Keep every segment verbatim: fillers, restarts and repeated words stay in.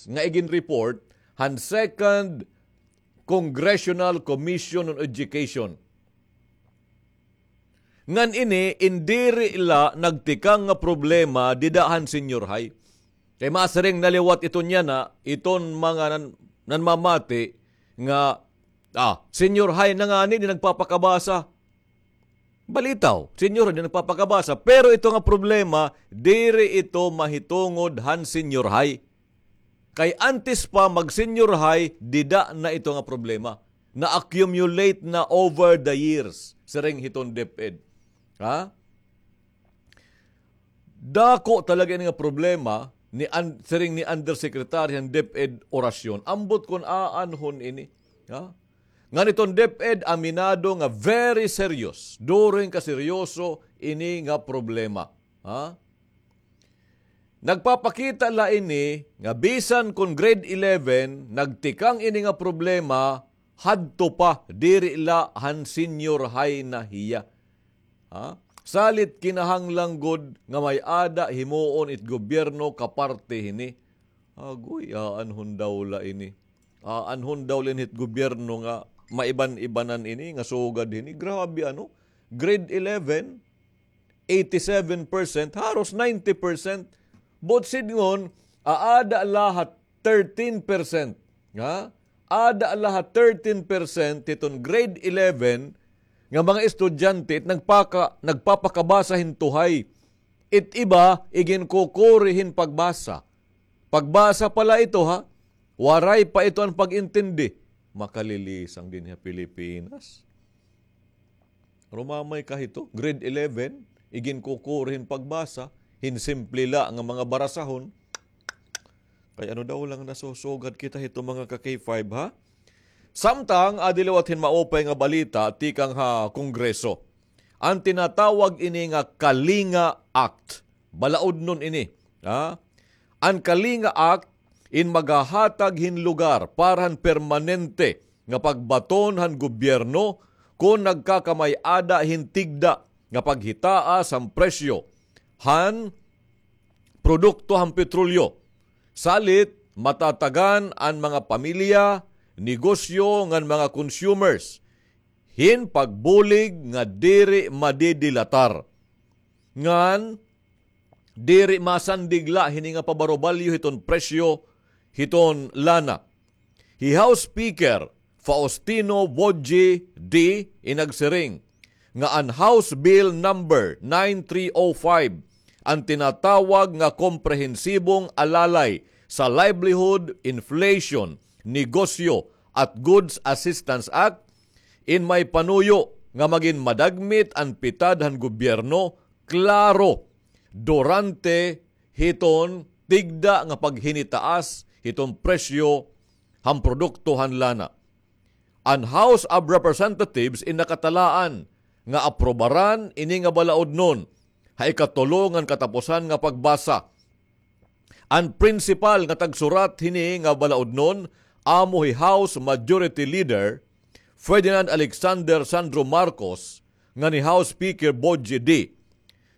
nga igin-report han Second Congressional Commission on Education. Ngan ini in diri la nagtikang nga problema dida han senior high. Kay masiring na liwat iton yana, iton mga nan-, nanmamati nga, ah, senior high na ngani, di nagpapakabasa. Balitaw, senior high, di nagpapakabasa. Pero ito nga problema, diri ito mahitungod han senior high. Kay antes pa mag-senior high, dida na ito nga problema. Na-accumulate na over the years, siring hiton DepEd. Ha? Dako talaga ini nga problema ni an-, siring ni Undersecretary han DepEd Oracion. Ambot kon aanhon ini. Ha? Ngan iton DepEd aminado nga very serious. Duro hin kaseryoso ini nga problema. Ha? Nagpapakita la ini nga bisan kon grade eleven, nagtikang ini nga problema, hadto pa, diri la han senior high na hiya. Ha? Salit kinahanglan gud nga may-ada himuon it gobyerno kaparte hini. Agoy, aanhon daw la ini. Aanhon daw la ini hit gobyerno nga maiban-ibanan ini, nga sugad hini. Grabe, ano? Grade eleven, eighty-seven percent, haros ninety percent. Buot sidngon, aada la ha thirteen percent. Ha? Aada la ha thirteen percent hiton grade eleven nga mga estudyante it nagpaka-, nagpapakabasa hin tuhay. It iba, iginkukuri hin pagbasa. Pagbasa pa la ito, ha? Waray pa ito an pag-intindi. Makalilisang dinhi ha Pilipinas. Rumamay ka hito, grade eleven, iginkukuri hin pagbasa, hin simple la nga mga barasahon. Kay ano daw la nga nasusugad kita hito, mga ka-K five, ha? Samtang, adi liwat hin maupay nga balita tikang ha Kongreso. An tinatawag ini nga Kalinga Act. Balaudnon ini, ha? An Kalinga Act in maghahatag hin lugar para han permanente nga pagbaton han gobyerno kon nagkakamay-ada hin tigda nga paghitaas han presyo han produkto han petrolyo. Salit, matatagan an mga pamilya, negosyo ngan mga consumers hin pagbulig nga diri madidilatar. Ngan diri masandig la hini nga pabarubalyo hiton presyo hiton lana. Hi House Speaker Faustino Boji D in nagsiring nga an House Bill Number nine three oh five, an tinatawag nga Komprehensibong Alalay sa Livelihood, Inflation, Negosyo at Goods Assistance Act, in may panuyo nga magin madagmit an pitad han gobyerno, klaro, durante hiton tigda nga paghinitaas hiton presyo han produkto han lana. An House of Representatives in nakatalaan nga aprobaran ini nga balaudnon ha ikatulo ngan katapusan nga pagbasa. An prinsipal nga tagsurat hini nga balaudnon amo hi House Majority Leader Ferdinand Alexander Sandro Marcos ngan hi House Speaker Boji D.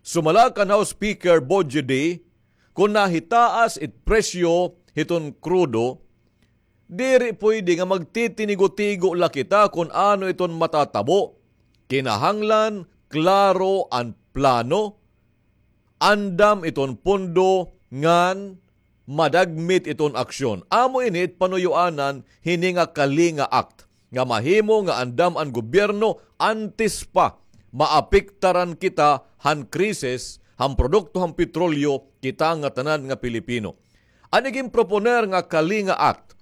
Sumala kan House Speaker Boji D, kon nahitaas it presyo hiton krudo, diri puyde nga magtitinigo-tigo la kita kon ano iton matatabo. Kinahanglan klaro an plano, andam iton pondo ngan madagmit iton aksyon. Amo ini it panuyoanan hini nga Kalinga Act, nga mahimo nga andam an gobyerno antes pa maapektaran kita han krisis han produkto han petrolyo, kita nga tanan nga Pilipino. An iginproponer nga Kalinga Act,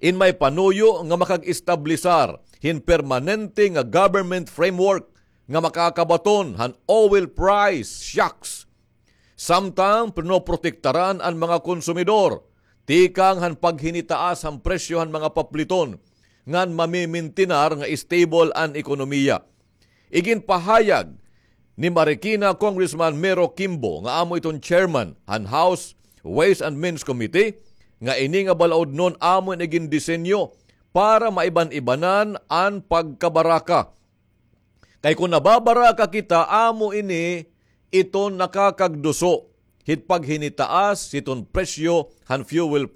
in may panuyo nga makag-establisar hin permanente nga government framework nga makakabaton han oil price shocks. Samtang pinoprotektaran an mga konsumidor tikang han paghinitaas han presyo han mga papliton ngan mamimintinar nga stable an ekonomiya. Iginpahayag ni Marikina Congressman Mero Kimbo nga amo iton chairman han House Ways and Means Committee nga ini nga balaudnon amo in igindisenyo para maiban-ibanan an pagkabaraka. Kay kon nababaraka kita, amo ini iton nakakagduso hit paghinitaas hiton presyo han fuel